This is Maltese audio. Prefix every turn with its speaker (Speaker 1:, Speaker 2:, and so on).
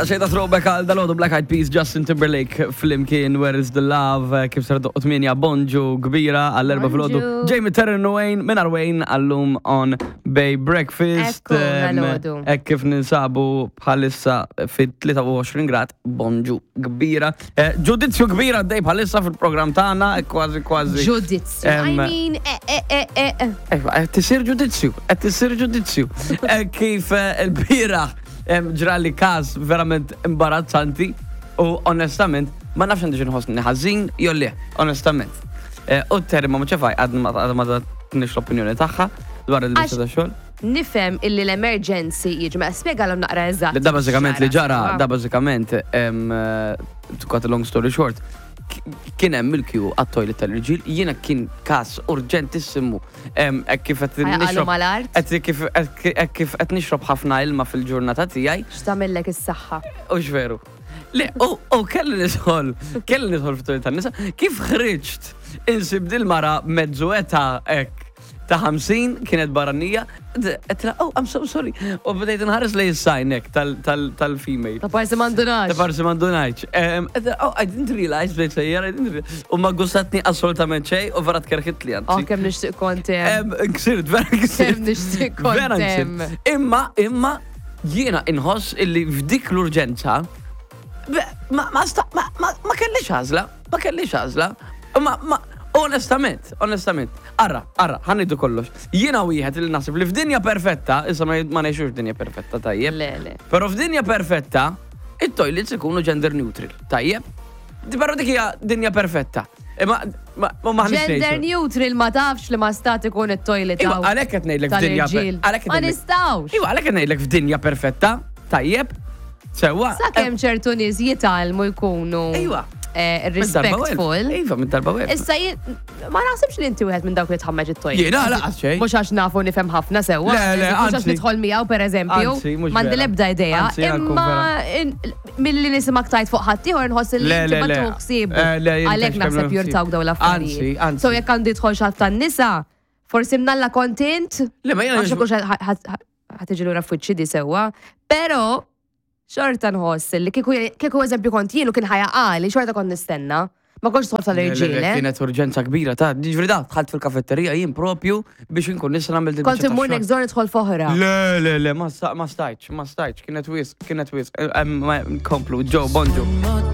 Speaker 1: Xejta throwback għal dal-għodu Black Eyed Peas, Justin Timberlake flimkien Where is the Love, kif ser doqqu 8 bonġu kbira għall-erba filgħodu.
Speaker 2: Bonġu.
Speaker 1: Jamie Terren Wayne minn Wayne għallum on Bay Breakfast.
Speaker 2: Ekku, dal-għodu.
Speaker 1: Hekk kif ninsabu bħalissa fit-23 grad, bonġu kbira. Eh, Ġudizzju kbira għaddej bħalissa fil-programm tagħna, eh, kważi kważi.
Speaker 2: Ġudizzju. I mean, eh, eh, eh, eh, eh.
Speaker 1: Qed tisir ġudizzju, qed tisir ġudizzju. Eh, Kif eh, il-bieraħ ġrali każ verament imbarazzanti u onestament ma nafx għandi nħossni ħażin jew le, onestament. Eh, U Terry ma ċefaj għadna ma ma tatniex l-opinjoni tagħha dwar il-lista ta' xogħol.
Speaker 2: Nifhem illi l-emergency jiġi, ma spjegalhom naqra eżatt.
Speaker 1: Da bażikament li ġara, da bażikament, eh, to cut a long story short, kien hemm il-kju għat-toilet tal-irġiel, jiena kien każ urġentissimu. Hekk kif qed
Speaker 2: nixrob.
Speaker 1: Hekk kif kif qed nixrob ħafna ilma fil-ġurnata tiegħi.
Speaker 2: X'tagħmillek is-saħħa.
Speaker 1: Hux veru. Le, u kelli nidħol, kelli nidħol fit-toilet tan-nisa, kif ħriġt insib dil-mara mezzu età hekk ta' 50 kienet barranija, għedtilha, oh, I'm so sorry. U bdejt nħares lejn is-sign hekk tal-female.
Speaker 2: Ta' parsi m'għandunajx.
Speaker 1: Ta' parsi m'għandunajx. Oh, I didn't realize, bdejt sejjer, I didn't realize. U ma gustatni assolutament xejn u vera tkerħitli
Speaker 2: anzi. Oh, kemm nixtieq kont hemm.
Speaker 1: Ksirt, vera ksirt.
Speaker 2: Kemm nixtieq kont hemm.
Speaker 1: Imma, imma, jiena inħoss illi f'dik l-urġenza, ma, ma, ma, ma kellix għażla. Ma kellix għażla. Ma, ma, onestament, onestament, arra, arra, ħanidu kollox. Jiena wieħed li naħseb li f'dinja perfetta, issa ma ngħixux dinja perfetta tajjeb.
Speaker 2: Le, le.
Speaker 1: Però f'dinja perfetta, it-toilets ikunu gender neutral, tajjeb? Però dik hija dinja perfetta. Imma ma ma
Speaker 2: Gender neutral ma tafx li ma stat ikun it-toilet.
Speaker 1: Iva, għalhekk qed ngħidlek f'dinja
Speaker 2: Ma nistgħux.
Speaker 1: Iva, għalhekk qed ngħidlek f'dinja perfetta, tajjeb? Sewa.
Speaker 2: Sakemm ċertu nies jitgħallmu jkunu.
Speaker 1: Iva.
Speaker 2: Eh, respectful.
Speaker 1: Iva, minn darba wieħed.
Speaker 2: Issa ma naħsibx li inti wieħed minn dawk li tħammeġ it-toilet.
Speaker 1: Jiena laqas xejn.
Speaker 2: Mhux għax nafu nifhem ħafna sewwa.
Speaker 1: Le, le,
Speaker 2: Mhux għax nidħol miegħu pereżempju. M'għandi l-ebda idea. Imma milli nisimgħek tajt fuq ħaddieħor nħoss li inti ma tuħsib. Eh, Għalhekk naħseb jurtawk dawn l-affarijiet. So jekk għandu jidħol xatt tan-nisa, forsi mnalla kontent.
Speaker 1: Le, ma jiena.
Speaker 2: Ħa tiġi lura f'wiċċi di sewwa, però xorta nħoss li kieku kieku eżempju kont jien u kien ħa jaqali, xorta kont nistenna. Ma kontx nidħol tal-irġiel, eh.
Speaker 1: Kienet urġenza kbira ta' ġifieri da dħalt fil-kafetterija jien propju biex inkun nista' nagħmel din
Speaker 2: Kont immur next door nidħol f'oħra.
Speaker 1: Le, le, le, ma stajtx, ma stajtx, kienet wisq, kienet wisq. Komplu, ġo, bonġu.